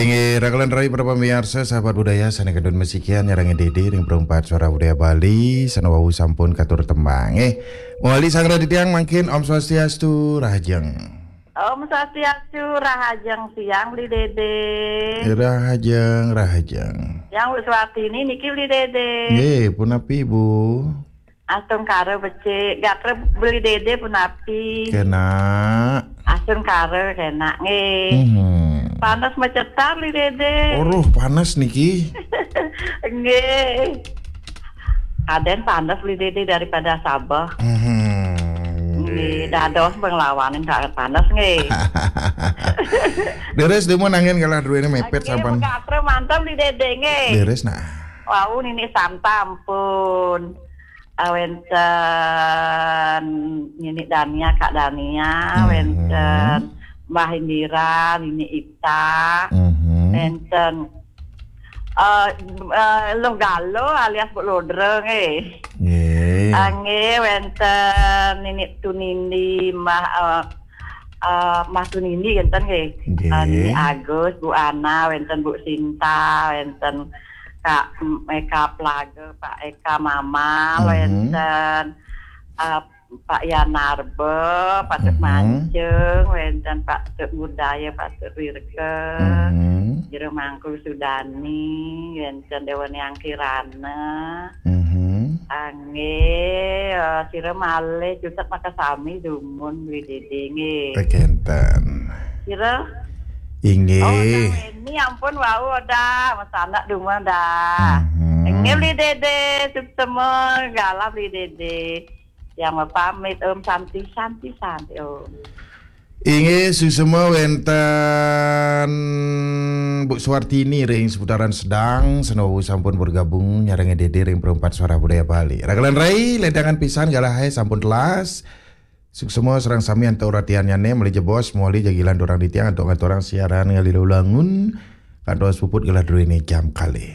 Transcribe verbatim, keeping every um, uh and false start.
Inggih, rakelan rai para pamiarsa, sahabat budaya, sané kantun masikian nyarengin Dédé ring Perempat Suara Budaya Bali, sané wau sampun katur tembang. Eh, mawali sang raditya mangkin Om Swastiastu, rahajeng. Om Swastiastu, rahajeng siang, Beli Dédé. Rahajeng, rahajeng. Yang Bu Suartini niki, Beli Dédé. Nggih, punapi, Bu? Astungkara becik, gatra Beli Dédé punapi? Kena. Astungkara kena, nggih. Mhm. Panas macetar, Beli Dédé. Aduh, panas niki. Nggih. Kadén panas, Beli Dédé, daripada Sabah. Mhm. Nggih, dados penglawanin sangat panas, nggih. Deres, dumun angin galah druéné mepet. Nggih, sampun. Gatra manten, Beli Dédé, nggih. Deres, nah. Wau nini santam pun. Ah, wénten Nini Dania, Kak Dania, mhm, wénten Mbah Indira, Nini Ita, mhm, wénten, eh, eh, Luh Galo alias Bu Lodra, nggih. Nggih. Ah, nggih, wénten Nini Tunindi, Mbah, eh, eh, Mbah Tunindi, wénten, nggih. Nggih. Eh, Nini Agus, Bu Ana, wénten Bu Sinta, wénten Kak Eka Plaga, Pak Eka Mamal, mhm, wénten, eh, Pak Yanarba, Pak Tuk, mhm, Mancung, wénten Pak Tuk Budaya, Pak Tuk Wirke, mhm, Jero Mangku Sudani, wénten Déwa Niang Kirana. Mhm. Anggih, eh, sira malih cutet makasami dumun, Beli Dédé, nggih. Kénten. Sira? Inggih. Oh, Weni ampun wau dah, masanak dumun dah. Mhm. Nggih, Beli Dédé, suksema, galah, Beli Dédé. Yang pamit, Om, Santi, Santi, Santi, Om. Inggih, suksema wénten Bu Suartini ring seputaran Sedang, sané wau sampun bergabung nyarengin Dédé ring Perempat Suara Budaya Bali. Rakelan rai, ledangan pisan galahé sampun telas. Suksema sareng sami antuk ratiannyané, malih jebos, malih jagilan durang titiang antuk ngaturang siaran ngalih lulangun. Kantos puput galah druéné jam kalih.